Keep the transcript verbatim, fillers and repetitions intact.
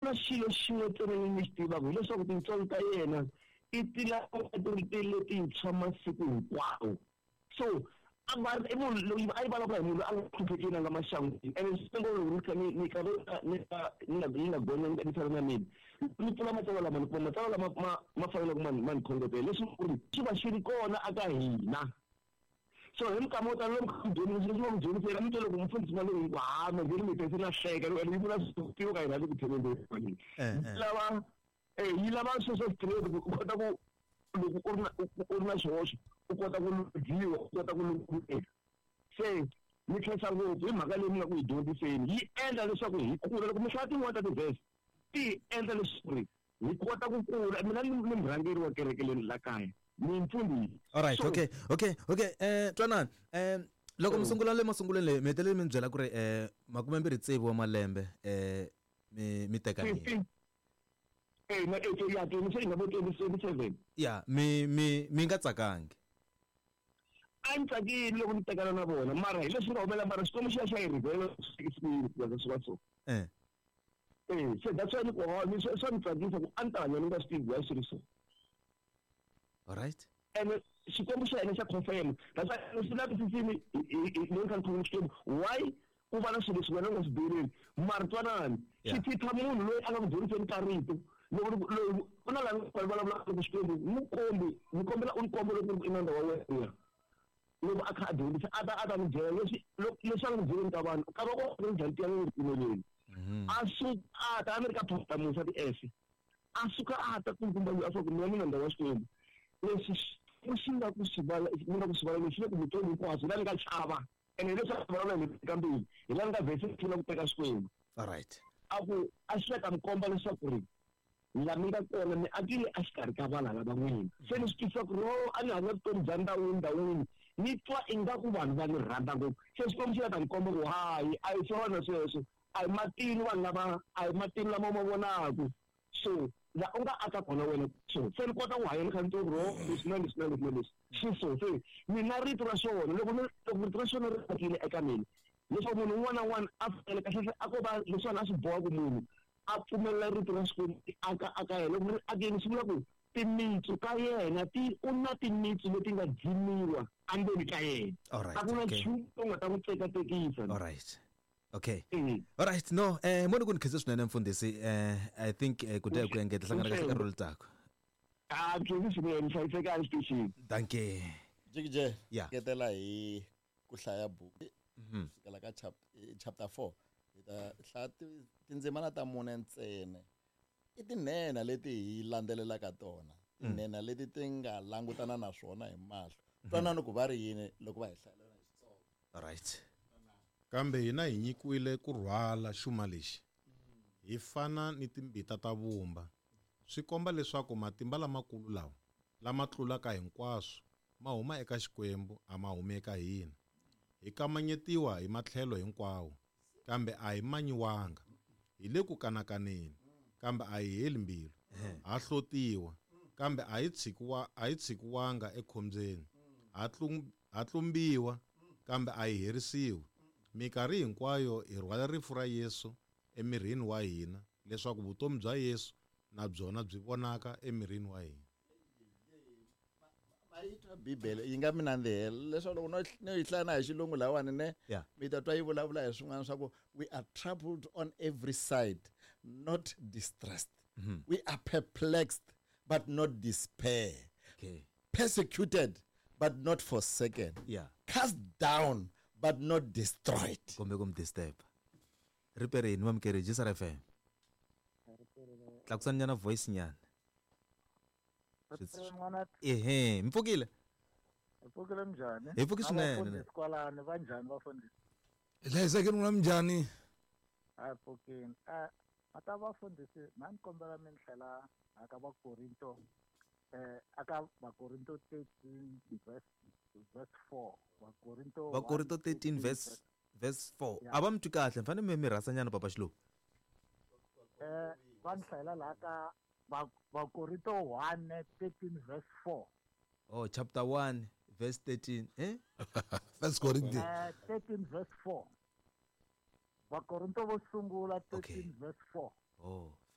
Na xilo xin'we ntsena ni xi tivaka hileswaku tintswalo ta yena i ti lava ti ri ti letintshwa masiku hinkwawo. So a va i munhu loyi a yi vulavula hi munhu loyi a nga hluphekeni, a nga maxangwini. Ene swi loko ni kha ni ni kha ni nga ni nga ni nga gonya ni tshama na mina, ni pfula matsalwa lama, ni kuma matsalwa lama ma ma faneleke ma ma ni khongotela leswi ku ri xi va xi ri kona aka hina. So hi minkama yo tala loko mi dyondzisa leswi va mi dyondzisela, mi twa loko mufundhisi na loyi ha ma nge mi tese na hleka ene yi vula swilo ka hina le ku tshembeni lava eh yi lava swilo swa straight ku u kota ku loko u ri na u ri na xihoxo u kota ku lunghiwa, u kota ku lungheka. Se ni khensa ngopfu hi mhaka leyi mi nga ku hi dyondziseni, yi endla leswaku hi kula. Loko mi hlaya tin'wani ta ti-verse ti hi endla leswaku ri hi kota ku kula. Mina ni ni murhangeri wa kereke leyi la kaya, ni mfundhisi. Alright. So okay okay okay eh twanani, eh loko mi sungula le masungulweni leyi mi hetelele mi byela ku ri eh makume mbirhi tsevu wa malembe eh mi mi tekanile. Eh na eh ya twenty seven vo twenty seven. Ya mi mi mi nga tsakangi. A ni tsakile loko ni tekana na vona, mara hi leswi nga humelela, mara Xikwembu xi ya xa hi rivela swi va so. Eh eh se that's why ni ku ni swa ni tsakisa ku a ni ta hanya ni nga swi tivi why swi ri so. Alright. Ene Xikwembu xa hina xa confirm. That's why swi lavisisini leyi kha ni khoma Xikwembu why ku va na swilo leswi wena u nga swi byeleni, mara twanani xi thitha munhu loyi a nga ku dyondziseni ka rito. Loko loyi ku na laha va vulavulaka ku Xikwembu n'wi kombi, ni kombela u ni komba loko ku ri i nandza wa wena, loko a kha a dyondzisa a ta a ta n'wi byela leswi leswi a nga byeleni ka vanhu ka va ku ri njhani tiya ni ripfumeleni. A suka a ta a ni ri ka Pastor Musa ti-S, a suka a ta kulukumba loyi a fa ku mina ni nandza wa Xikwembu, leswi xi nga ku swi vala ni nga ku swi vala leswi le ku vutomi hinkwabyo la ni nga chava. Ene leswi a vulavula hi ka mbilu hi la ni nga vhese pfuna ku teka Xikwembu. Alright. A ku a xi ta mi komba leswaku ri la mi nga kona mi akile exikarhi ka valala va n'wina. Se ni swi twisisa ku ri o a ni hanya vutomi bya ndhawini ndhawini, ni twa ingaku vanhu va ni rhandza ngopfu. Se Xikwembu xi la ta ni komba ku hayi a hi swona sweswo, a hi matini vanhu lava, a hi matini lama ma vonaku. So la u nga aka kona wena so se ni kota ku hanya ni kha ni twa ku ri o leswi na leswi na leswi na leswi swi so. Se mina rito ra xona loko ni loko rito ra xona ri akile eka mina leswaku munhu un'wana na un'wana a fanele kahlekahle a ko va leswiwani a swi boha ku munhu a pfumelela rito ra Xikwembu aka aka yena. Loko ri akile swi vula ku timitsu ta yena ti u na timitsu leti nga dzimiwa endzeni ka yena. Alright, a ku na okay. nchumu lowu nga ta n'wi tsekatekisa. Alright. Okay. Mm. Alright, no, eh mo ni ku ni khense swinene mfundhisi, eh I think eh, ku dya hi ku engeta hlangana kahle ka rolo tako. Ah, khensi swinene, hlayisekani xitichini. Dankie. Jikije, Yeah. ngetela hi ku hlaya buku. Mhm. Sukela ka chap-, chapter four. Hi ta hlaya ti-, tindzimana ta mune ntsena. I tinhenha leti hi landzelelaka tona. Tinhenha leti ti nga langutana na swona hi mahlo. Twanani ku va ri yini loko va hi hlayelela hi Xitsonga. Alright. Kambe hina hi nyikiwile ku rhwala xuma lexi, hi fana ni timbita ta vumba. Swi komba leswaku matimba lamakulu lawa lama tlulaka hinkwaswo ma huma eka Xikwembu, a ma humi eka hina. Hi kamanyetiwa hi matlhelo hinkwawo, kambe a hi manyiwanga. Hi le ku kanakaneni, kambe a hi heli mbilu. Ha hlotiwa, kambe a hi tshikiwa, a hi tshikiwanga ekhombyeni. Ha tlum-, ha tlumbiwa, kambe a hi herisiwi. Minkarhi hinkwayo hi rhwala rifu ra Yesu emirini wa hina, leswaku vutomi bya Yesu na byona byi vonaka emirini wa hina. Ma yi twa Bibele yi nga mi nandzihela leswaku loko no, no yi hlaya na hi xilungu lahawani ne, Yeah. mi ta twa yi vulavula hi swin'wana swa ku we are troubled on every side, not distressed. Mm-hmm. We are perplexed but not despair. Okay. Persecuted but not forsaken. Yeah. Cast down but not destroyed. Kumbe ku mi disturb. Riperini va mukeri G S R F M. Tlakusani nyana voice nyana. Riperini n'wana. Ehe, mi pfukile? Hi pfukile njhani? Hi pfuki swinene. Vafundhisi kwalano va njhani vafundhisi? Hi hlayisekile n'wina minjhani? A hi pfukile. Eh, mata vafundhisi, na ni kombela mi ni hlela aka Vakorinto, eh, aka Vakorinto thirteen verse, verse four. Vakorinto Vakorinto one, thirteen verse, verse four. Yeah. A va mi twi kahle, mi fanele mi mi rhasa nyana papa Xiluva. Eh, va ni hlayela laha ka Va-, Vakorinto one thirteen verse four. Oh, chapter one verse thirteen, eh? First Corinthians. Eh, thirteen verse four. Vakorinto vo sungula thirteen Okay. verse four. Oh.